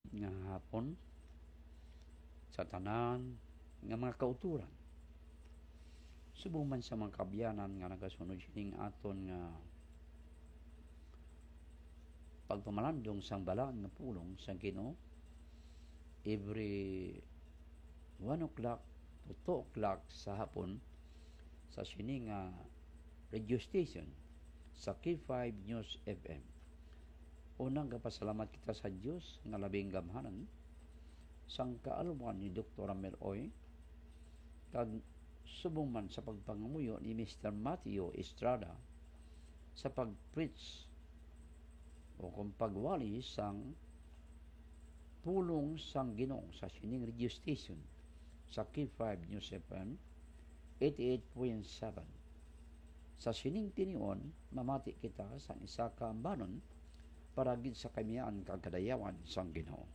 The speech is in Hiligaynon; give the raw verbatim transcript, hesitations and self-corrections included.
Nga hapon sa tanan nga mga kauturan. Subong man sa mga kabyanan nga nagasunod sining aton nga pagpamalandong sang balaan nga pulong sang Ginoo, every one o'clock to two o'clock sa hapon sa sini nga radio station sa K five News F M. Unang gapasalamat kita sa Dios nga labing gamhanan sang kaalwan ni Doktor Ramel Oy, kag subong man sa pagpangamuyo ni Mister Mateo Estrada sa pag-preach o kung pagwali sang pulong sang Ginoo sa sining radio station sa K five News F M eighty-eight point seven. Sa sining tinion, mamati kita sang isa ka ambanon para gid sa kamiyaan kag kadayawan sang Ginoo.